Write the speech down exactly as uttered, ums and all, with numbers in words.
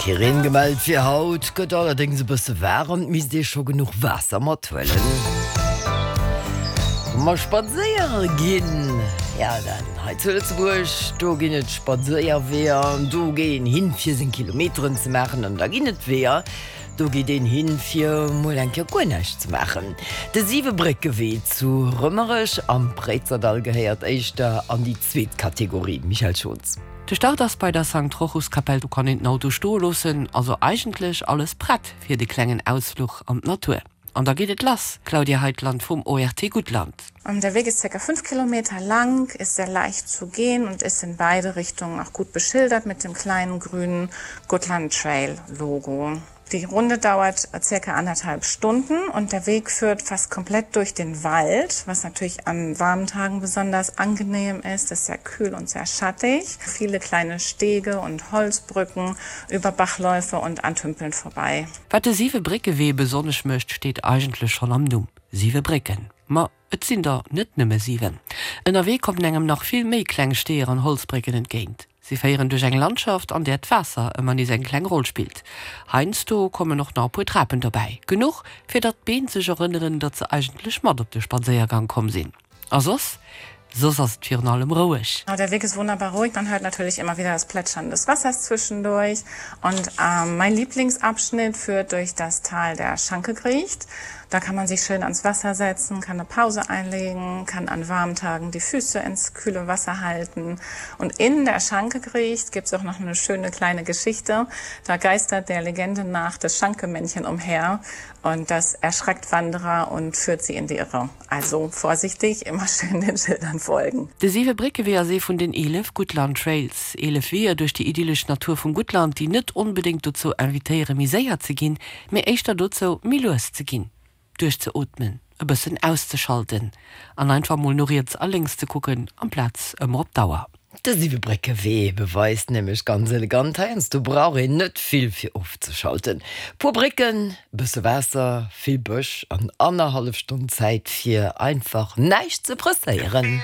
Kee Reen gemellt fir haut, gëtt allerdéngs e bësse waarem, et misst ee scho genuch Waasser mathuelen. Wa mer spadséiere ginn, ja dann hei zu Lëtzebuerg, do ginn et Spadséierweeër, do geet een hin fir seng Kilometeren ze maachen an da ginn et Weeër, do geet een hin fir mol eng Kéier guer näischt ze maachen. De Siwebréckewee zu Rëmerech am Préizerdall gehéiert éischter an déi zweet Kategorie, Michèle Schons. De Start ass bei der Sankt Rochuskapell, do kann een den Auto stoe loossen, also eigentlech alles prett fir de klengen Ausfluch an d'Natur. An da geet et lass, Claudia Heitland vum ORT Guttland. Der Weg ist circa fünf Kilometer lang, ist sehr leicht zu gehen und ist in beide Richtungen auch gut beschildert mit dem kleinen grünen Gutland Trail Logo. Die Runde dauert circa anderthalb Stunden und der Weg führt fast komplett durch den Wald, was natürlich an warmen Tagen besonders angenehm ist. Es ist sehr kühl und sehr schattig. Viele kleine Stege und Holzbrücken über Bachläufe und an Tümpeln vorbei. Wat de Siwebréckewee besonnesch mécht, steet eigentlech schonn am Numm, Siwe Brécken. Ma et sinn der net nëmme siwen. Ënnerwee kommen engem nach vill méi kleng Steeër an Holzbrécken entgéint. Si féieren duerch eng Landschaft, an där d'Waasser ëmmer nees eng kleng Roll spillt. Heiansdo kommen och nach e puer Trapen dobäi. Genuch, fir datt d'Been sech erënneren, datt se eigentlech mat op de Spadséiergang komm sinn. A soss? Soss ass et virun allem roueg. Der Weg ist wunderbar ruhig. Man hört natürlich immer wieder das Plätschern des Wassers zwischendurch. Und ähm, mein Lieblingsabschnitt führt durch das Tal der Schankegriecht. Da kann man sich schön ans Wasser setzen, kann eine Pause einlegen, kann an warmen Tagen die Füße ins kühle Wasser halten. Und in der Schankegriecht gibt es auch noch eine schöne kleine Geschichte. Da geistert der Legende nach das Schankemännchen umher und das erschreckt Wanderer und führt sie in die Irre. Also vorsichtig, immer schön den Schildern folgen. De Siwebréckewee ass ee vun den eelef Guttland Trails, eelef Weeër duerch déi idyllesch Natur vum Guttland, déi net onbedéngt dozou invitéiere méi séier ze ginn, mee éischter dozou méi lues ze ginn, duerchzeootmen, e bëssen auszeschalten an einfach mol no riets a lénks ze kucken amplaz ëmmer op d'Auer. De Siwebréckewee beweist nämlech ganz elegant, heiansdo brauch een net vill fir ofzeschalten. Puer Brécken, bësse Waasser, vill Bësch an annerhallef Stonn Zäit fir einfach näischt ze presséieren.